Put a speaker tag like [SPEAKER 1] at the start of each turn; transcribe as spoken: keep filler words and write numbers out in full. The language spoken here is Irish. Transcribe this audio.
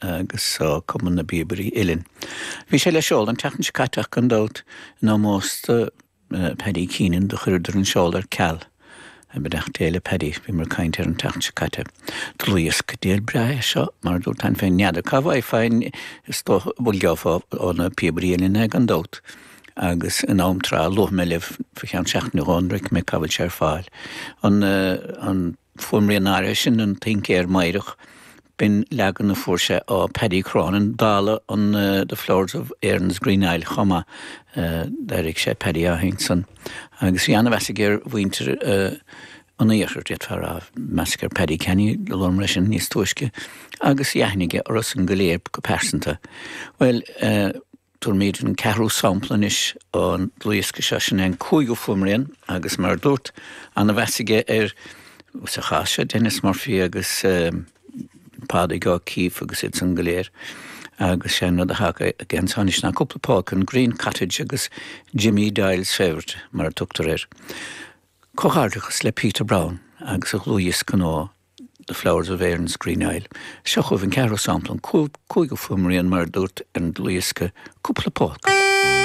[SPEAKER 1] agus uh, Cumann na bPíobairí Uilleann. Bhí sé le seoladh an tseachtain seo caite ach gan dabht in ómós do uh, Paddy Keenan do chuireadar an seoladh ar ceal. Beannacht Dé le Paddy bhí mar caint ar an tseachtain seo caite. Dlúthdhiosca diail breá seo mar dúirt an féin n'fheadar cá bhfaighfeá is bhfuil geofá ó na Píobairí Uilleann gan dabht. agus in am trátha luaigh mé libh fá cheann seachtaine nó dhó mé cá bhfuil sé ar fáil. An, uh, an fuaimrian áirithe sin an Tincéir Meidhreach b'in leagan a fuair sé ó Paddy Cronin dála an uh, The Flowers of Erin's Green Isle chomh maith uh, d'airigh sé Paddy á san. Agus bhí an-mheas aige ar mhuintir uh, an iarthair d'fhéadfá a rá meas ar Paddy Kenny le sin níos túisce, agus aithne orthusan go léir go pearsanta. Well uh, Tabharfaimid an ceathrú sampla anois ón dlúthdhiosca seo sin an cúigiú fuaimrian agus mar dúirt an-mheas aige ar sa chás seo Denis Murphy agus um, Pádraig O'Keeffe agus iad san go léir. agus sé rud a thagann anois ná cúpla polca an Green Cottage agus Jimmy Doyle's Favourite mar a tugtar air. Comhghairdeachas le Peter Brown agus a dhlúthdhiosca nua The Flowers of Erin's Green Isle. Seo chugaibh an ceathrú sampla an cúigiú fuaimrian mar dúirt an dlúthdhiosca cúpla polca.